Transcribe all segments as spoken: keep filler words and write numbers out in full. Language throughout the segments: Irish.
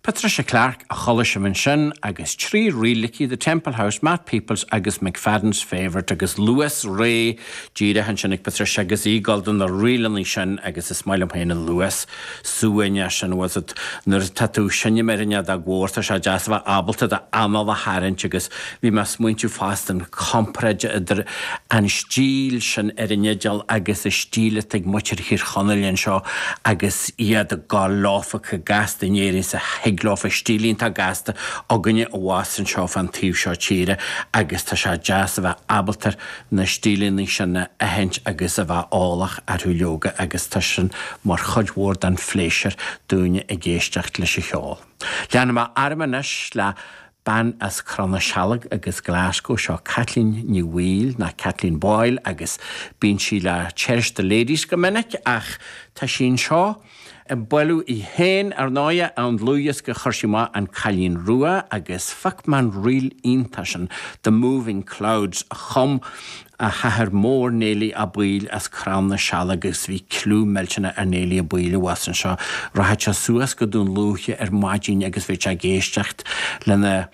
Patricia Clarke a chuala sibh ansin agus trí ríl aici The Temple House, Matt Peoples agus McFadden's Favourite agus luas réidh díreach ansin ag Patricia agus í ag gabháil do na ríleanna sin agus is maith liom féin an luas suaimhneach sin was it nuair tá tú ag seinm ar an fheadóg mhór tá sé deas a bheith ábalta d'anáil a tharraingt agus bhí mé ag smaointiú fosta an chomparáid idir an stíl sin ar an fhidil agus an stíl atá ag muintir Thír Chonaill anseo agus iad ag gabháil leofa chomh gasta in Éirinn is a thig leofa stíl iontach gasta againne abhus anseo fán taobh seo tíre agus tá sé deas a bheith ábalta na stíleanna sin a aithint agus a bheith eolach orthu leoga agus tá sin mar chuid mhór den phléisiúr dúinne ag éisteacht leis an cheol. Leanfaidh mé orm anois le bean as Crann na Sealg agus Glasgow seo Kathleen Ní Bhaoill ná Kathleen Boyle agus bíonn sí le Cherish the Ladies go minic ach tá sí anseo ag bailiú í féin ar ndóigh an dlúthdhiosca a chuir sí amach An Cailín Rua agus phioc mé an ríl iontach sin The Moving Clouds a chum a hathair mór Néilí Ó Baoill as Crann na Sealg agus bhí clú millteanach ar Néilí Ó Baoill abhus anseo. Rachadh sé suas go Dún Lúiche ar maidin agus bhí sé ag éisteacht lena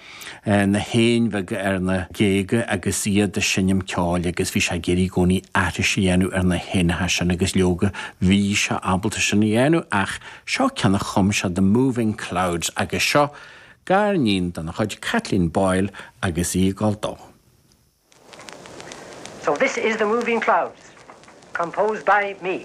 na héin bheaga ar na géaga agus iad ag seinm ceoil agus bhí sé ag iarraidh i gcónaí aithris a dhéanamh ar na héanacha sin agus leoga bhí sé ábalta sin a dhéanamh ach seo ceann a chum sé The Moving Clouds agus seo gariníon dena chuid Kathleen Boyle agus í ag gabháil dó. So this is The Moving Clouds, composed by me.